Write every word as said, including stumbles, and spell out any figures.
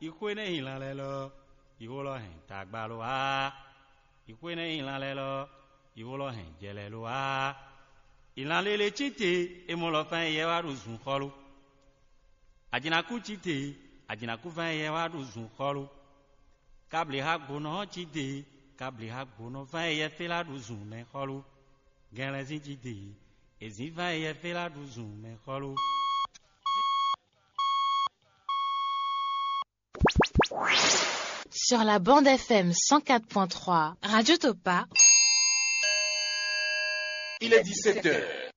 Yi xwé nɛ́ nyi lan lɛ́ɛ lɔ, yi xó lɔ hɛn tagba lo wá. Yi xwé nɛ́ nyi lan lɛ́ɛ lɔ, yi xó lɔ hɛn jɛ lɛ́ɛ lo wá. Yi lan lele cí te, é mɔ lɔ fán yɛ wá ɖo zun xɔ́lú. Ajinakú cí te, ajinakú fán yɛ wá ɖo zun xɔ́lú. Kablǐ xá gbonɔ ɔ́ cí te, kablǐ xá gbonɔ fán yɛ fé lá ɖo zun mɛ xɔ́lú. Gɛnlɛzín cí te, èzín fán yɛ fé lá ɖo zun mɛ xɔ́lú. Sur la bande F M cent quatre point trois, Radio Topa. Il est dix-sept heures.